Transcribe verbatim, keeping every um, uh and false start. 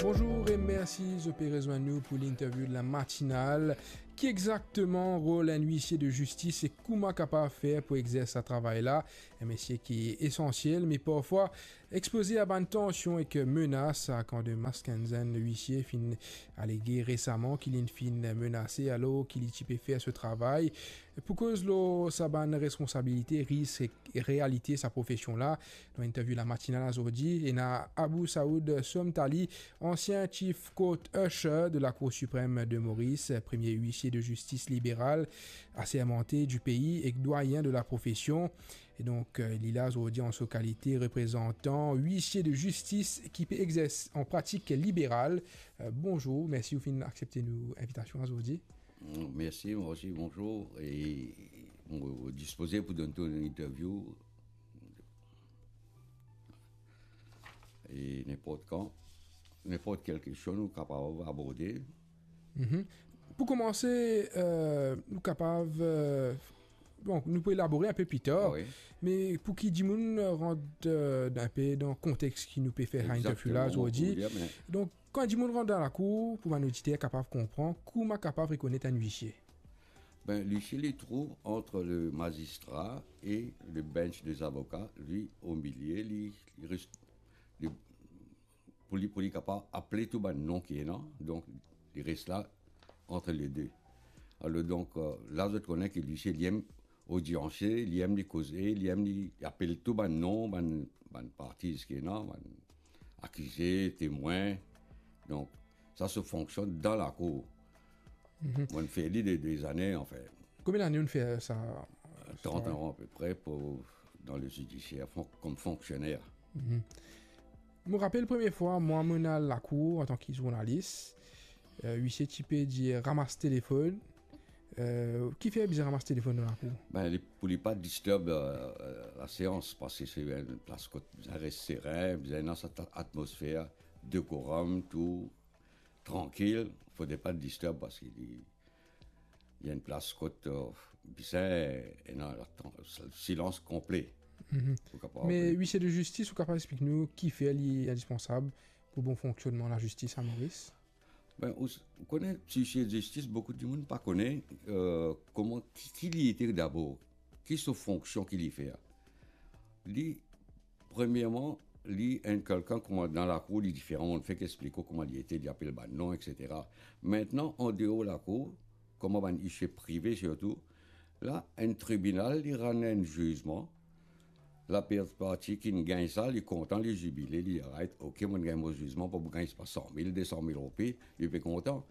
Bonzour e mersi zot pe rezwenn nou pou linterview La Matinale. Ki exakteman rol enn huissier de justice e kouma kapav fer pou exers sa travay la? Enn metye ki esansiel, me parfwa expoze a bann tansion ek menas, sa kan de Maskenzen, huissier, finn alege resaman ki li finn menase alor ki li ti pe fer so travay. Pou koz lor sa bann responsabilite, risk ek realite sa profesion la, dan interview La Matinale azordi, ena Abou Saoud Somtali, ansien Chief Court Usher de la Cour Suprême de Maurice, premie huissier de justice libéral asermante du pays ek dwayen de la profesion. E donk, euh, li la azordi an so kalite reprezantan huissier de justice ki pe exers an pratik liberal. Euh, bonzour, mersi ou finn aksepte nou invitasion azordi. Mm, mersi, mwa osi, bonzour. E mo dispoze pou donn to enn interview. E ninport kan, ninport kel kestion nou kapav aborde. Mhm. Pou koumanse, euh, nou kapav, euh, bon, nou pou elabore inpe pli tar, ah wi, me pou ki dimoun rant, euh, inpe dan kontex ki nou pe fer sa interview la azordi. Egzakteman, mo pou dir, me donk, kan dimoun rant dan lakour, pou bann oditer kapav konpran, kouma kapav rekonet enn huissier? Ben, l'huissier, li trouv ant le mazistra e le bench dezavoka, li, omilie, li, li res, li, pou li, pou li kapav apel tou bann non ki ena, donk, li res la ant le de. Alor, donk, euh, la, zot kone ki l'huissier, li enn odiansie, li enn li koze, li enn li, li apel tou bann non, bann, bann parti ki ena, bann akize, temwin. Donk, sa so fonksion dan lakour. Mhm. Mo'nn fer li de, dezane, anfin. Konbien lane ou'nn fer sa? Trant an apepre pou, dan le zidisier, fon-, kom fonksioner. Mhm. Mo rapel premie fwa, mwa, mo'nn al lakour antan ki zournalis, euh, huissier ti pe dir ramas telefonn. Euh, kifer bizin ramas telefonn dan lakour? Ben, li, pou li pa disturb, euh, euh, laseans, parski se enn plas kot bizin res seren, bizin ena sa atmosfer dekorom, tou trankil, fode pa disturb, parski li, li enn plas kot, euh, bizin ena la tran-, silans konple. Mhm. Pou kapav... Me huissier de justice, ou kapav explik nou kifer li indispensab pou bon fonksionnman lazistis a Moris? Ben, ou s-, ou kone, huissier de justice, boukou dimoun pa kone, euh, kouma, ki, ki li ete dabor, ki so fonksion ki li fer. Li, premierman, li enn kelkenn kouma dan lakour, li diferan, mo'nn fek explik ou kouma li ete, li apel bann non, et cetera. Mintnan, andeor lakour, kouma bann huissier prive sirtou, la, enn tribinal, li rann enn zizman, laparti ki'nn gagn sa, li kontan, li zibile, li, alright, ok, mo'nn gagn mo zizman, pou mo gagn, se pa san mil, de san mil roupi, li pe kontan.